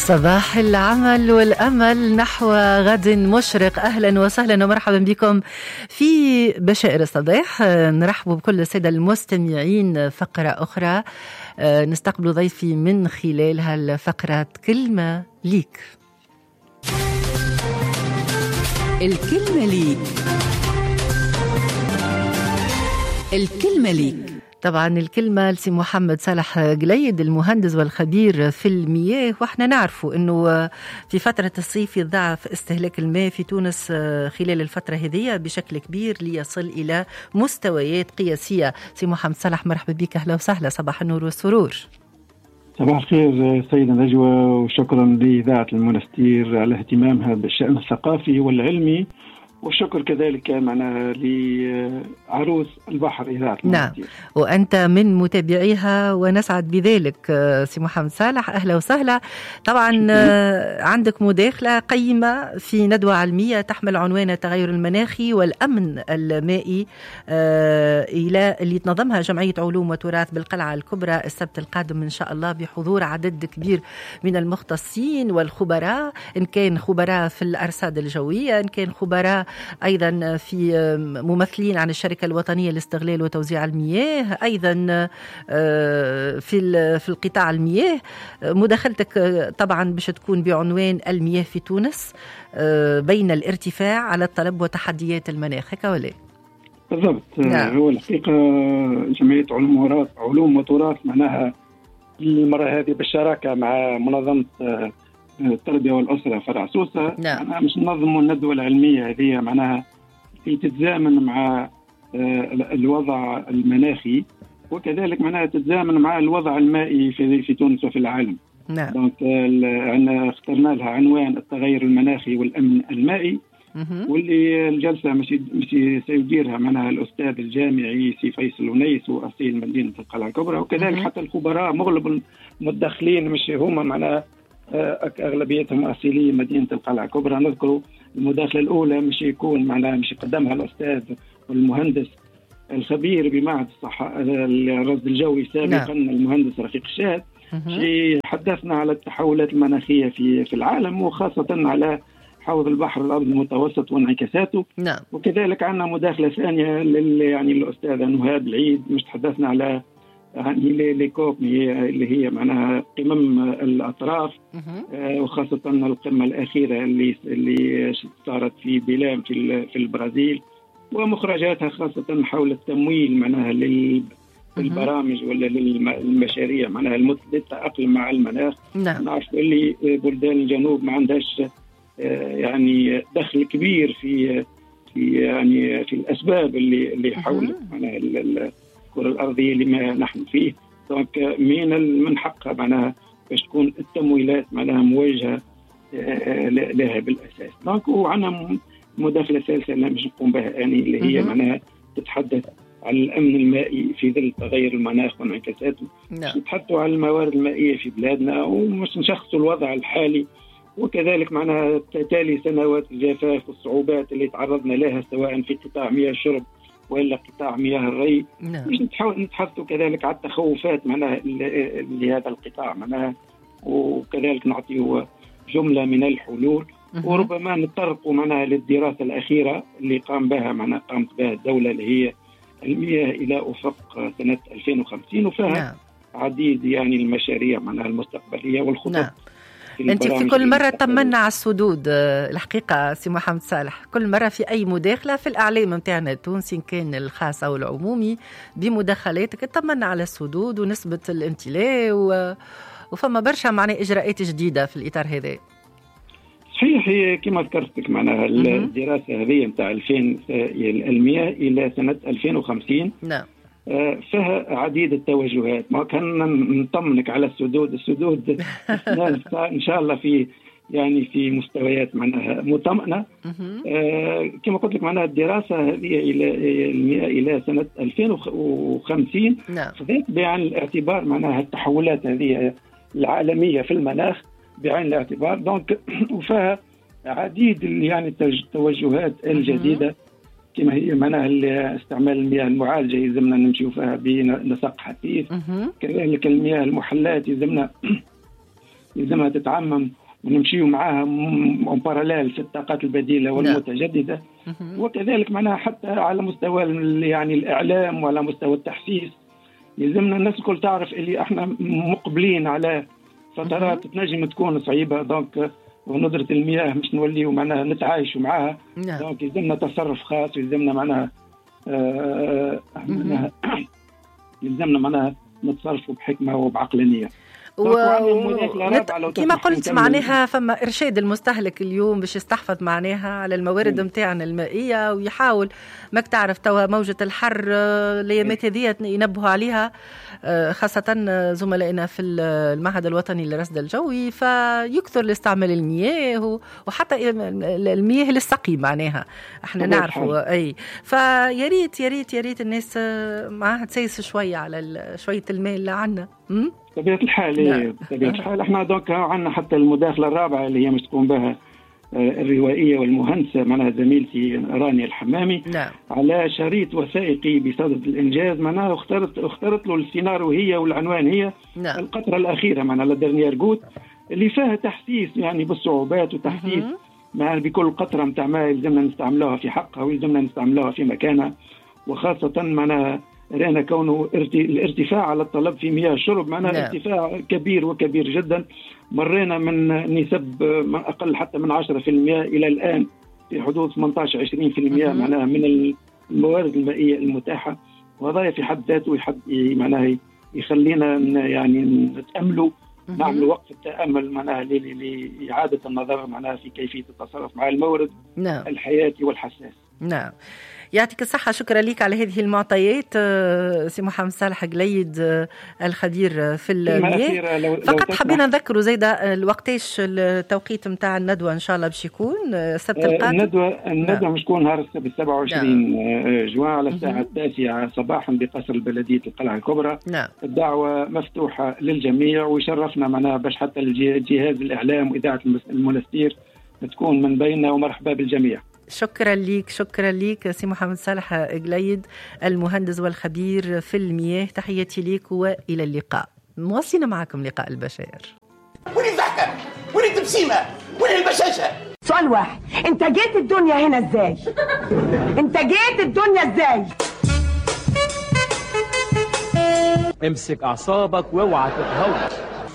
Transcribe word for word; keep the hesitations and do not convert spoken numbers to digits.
صباح العمل والأمل نحو غد مشرق. أهلا وسهلا ومرحبا بكم في بشائر الصباح. نرحب بكل السادة المستمعين. فقرة أخرى نستقبل ضيفي من خلالها الفقرة كلمة ليك. الكلمة ليك، الكلمة ليك. طبعا الكلمة لسي محمد صالح قليد، المهندس والخبير في المياه. واحنا نعرفوا انه في فترة الصيف يتضاعف استهلاك الماء في تونس خلال الفترة هذه بشكل كبير ليصل الى مستويات قياسية. سي محمد صالح مرحبا بك، اهلا وسهلا، صباح النور والسرور. صباح الخير سيدة نجوى، وشكرا لإذاعة المنستير على اهتمامها بالشأن الثقافي والعلمي، والشكر كذلك معنا لعروس البحر إذاعة المنستير. نعم، وأنت من متابعيها ونسعد بذلك سي محمد صالح، أهلا وسهلا. طبعا عندك مداخلة قيمة في ندوة علمية تحمل عنوان التغير المناخي والأمن المائي إلى اللي تنظمها جمعية علوم وتراث بالقلعة الكبرى السبت القادم إن شاء الله، بحضور عدد كبير من المختصين والخبراء، إن كان خبراء في الأرصاد الجوية، إن كان خبراء أيضا في ممثلين عن الشركة الوطنية لاستغلال وتوزيع المياه، أيضا في في القطاع المياه. مداخلتك طبعا باش تكون بعنوان المياه في تونس بين الارتفاع على الطلب وتحديات المناخ، هكا ولا؟ بالضبط. نعم. هو الحقيقة جمعية علوم وتراث علوم وتراث معناها المرة هذه بالشراكة مع منظمة التربية والأسرة فرع سوسة. نعم. معناها مش ننظموا الندوة العلمية هذه، معناها في تتزامن مع الوضع المناخي، وكذلك معناها تتزامن مع الوضع المائي في في تونس وفي العالم. نعم. donc عندنا اخترنا لها عنوان التغير المناخي والأمن المائي، واللي الجلسة مش مش سيديرها معناها الأستاذ الجامعي سي فيصل ونيس وأصيل مدينة القلعة الكبرى، وكذلك حتى الخبراء مغلب المتدخلين مش هما معناها أغلبيتهم أصيلي مدينة القلعة الكبرى. نذكر المداخلة الأولى مش يكون معناها مش يقدمها الأستاذ والمهندس الخبير بمعهد الصحة الرصد الجوي سابقا. نعم. المهندس رفيق الشاهد حدثنا على التحولات المناخية في في العالم، وخاصة على حوض البحر الأبيض المتوسط وانعكاساته. نعم. وكذلك عندنا مداخلة ثانية لل يعني الأستاذة نهاد العيد، مش تحدثنا على يعني les COP اللي هي معناها قمم الأطراف، آه وخاصة القمة الأخيرة اللي اللي صارت في بيلام في في البرازيل، ومخرجاتها خاصة حول التمويل معناها للبرامج ولا للمشاريع معناها للتأقلم مع المناخ. نعم. نعرف اللي بلدان الجنوب ما عندهاش آه يعني دخل كبير في في يعني في الأسباب اللي اللي حول معناها الكرة الأرضية لما نحن فيه. donc من من حقها معناها باش تكون التمويلات معناها موجهة لها بالأساس. donc وعندنا مداخلة ثالثة اللي مش نقوم بها يعني اللي هي معناها تتحدث عن الأمن المائي في ظل تغير المناخ وانعكاساته. نعم. نتحدثوا عن الموارد المائية في بلادنا ومش نشخصوا الوضع الحالي، وكذلك معناها تالي سنوات الجفاف والصعوبات اللي تعرضنا لها سواء في قطاع مياه الشرب ولا قطاع مياه الري. نعم. مش نتحدثوا كذلك على التخوفات معناها لهذا القطاع معناها، وكذلك نعطيه جملة من الحلول، وربما نتطرقوا معناها للدراسة الأخيرة اللي قام بها معناها قامت بها الدولة اللي هي المياه إلى أفق سنة ألفين وخمسين، وفيها نعم. عديد يعني المشاريع معناها المستقبلية والخطط. نعم. أنت في كل مرة طمنا على السدود الحقيقة سي محمد صالح، كل مرة في أي مداخلة في الإعلام متاعنا التونسي إن كان الخاص أو العمومي بمداخلاتك طمنا على السدود ونسبة الامتلاء و... وفما برشا معنى إجراءات جديدة في الإطار هذا. صحيح، هي كما ذكرتك معناها الدراسة هذه متاع ألفين المياه إلى سنة ألفين وخمسين. نعم. فيها عديد التوجهات. ما كان نطمنك على السدود، السدود إن شاء الله في يعني في مستويات معناها مطمئنة. آه كما قلت لك معناها الدراسة هذه إلى إلى سنة ألفين وخمسين. نعم. خذت بعين الاعتبار معناها التحولات هذه العالمية في المناخ بعين الاعتبار. donc وفيها عديد يعني التوجهات الجديدة كما هي معناها استعمال المياه المعالجة يلزمنا نمشيو فيها بنسق حثيث، كذلك المياه المحلات يلزمنا يلزمها تتعمم ونمشيو معاها en parallèle في الطاقات البديلة والمتجدده. وكذلك معناها حتى على مستوى يعني الاعلام وعلى مستوى التحسيس يلزمنا الناس الكل تعرف اللي احنا مقبلين على فترات تنجم تكون صعيبة، donc وندرة المياه مش نوليو معناها نتعايشوا معاها. donc يلزمنا تصرف خاص، ويلزمنا معناها آه معناها يلزمنا معناها نتصرفوا بحكمه وبعقلانيه. و... نت... كما قلت معناها فما إرشاد المستهلك اليوم باش يستحفظ معناها على الموارد نتاعنا المائية ويحاول، ماك تعرف توا موجة الحر الأيامات هذه ينبهوا عليها خاصة زملائنا في المعهد الوطني للرصد الجوي، فيكثر لاستعمال المياه وحتى المياه للسقي معناها احنا نعرفوا اي. فيا ريت يا ريت يا ريت الناس معاها تسيس شوية على شوية الماء اللي عندنا. بطبيعة الحال بطبيعة الحال احنا donc عندنا حتى المداخلة الرابعة اللي هي مش تقوم بها الروائية والمهندسة معناها زميلتي رانيا الحمامي. نعم. على شريط وثائقي بصدد الإنجاز، معناها اخترت اخترت له السيناريو هي والعنوان هي. نعم. القطرة الأخيرة معناها la dernière goutte، اللي فيها تحسيس يعني بالصعوبات وتحسيس معناها بكل قطرة نتاع ماء يلزمنا نستعملوها في حقها ويلزمنا نستعملوها في مكانها، وخاصة معناها رأينا كونه الارتفاع على الطلب في مياه الشرب معناها. نعم. ارتفاع كبير وكبير جدا، مرينا من نسب من أقل حتى من عشرة بالمئة إلى الآن في حدود ثمانية عشر عشرين بالمئة معناها من الموارد المائية المتاحة، وهذا في حد ذاته يحد معناها يخلينا يعني نتأملوا، نعمل وقف التأمل معناها لإعادة النظر معناها في كيفية التصرف مع المورد. نعم. الحياتي والحساس. نعم، يعطيك الصحة، شكرا لك على هذه المعطيات سي محمد صالح قليد الخبير في المياه. فقط حبينا نذكروا زايدة الوقتاش التوقيت نتاع الندوة إن شاء الله باش يكون السبت القادم. الندوة الندوة مش تكون نهار السبت سبعة وعشرين نعم. جوان على الساعة التاسعة صباحا بقصر بلدية القلعة الكبرى. نعم. الدعوة مفتوحة للجميع، ويشرفنا معناها باش حتى الجهاز الإعلام وإذاعة المنستير تكون من بيننا، ومرحبا بالجميع. شكرا لك، شكرا لك سي محمد صالح قليد المهندس والخبير في المياه، تحياتي لك والى اللقاء. مواصلين معكم لقاء البشائر. وين الضحكة؟ وين التبسيمه؟ وين البشاشه؟ سؤال واحد، انت جيت الدنيا هنا ازاي؟ انت جيت الدنيا ازاي؟ امسك اعصابك واوعى تتهور.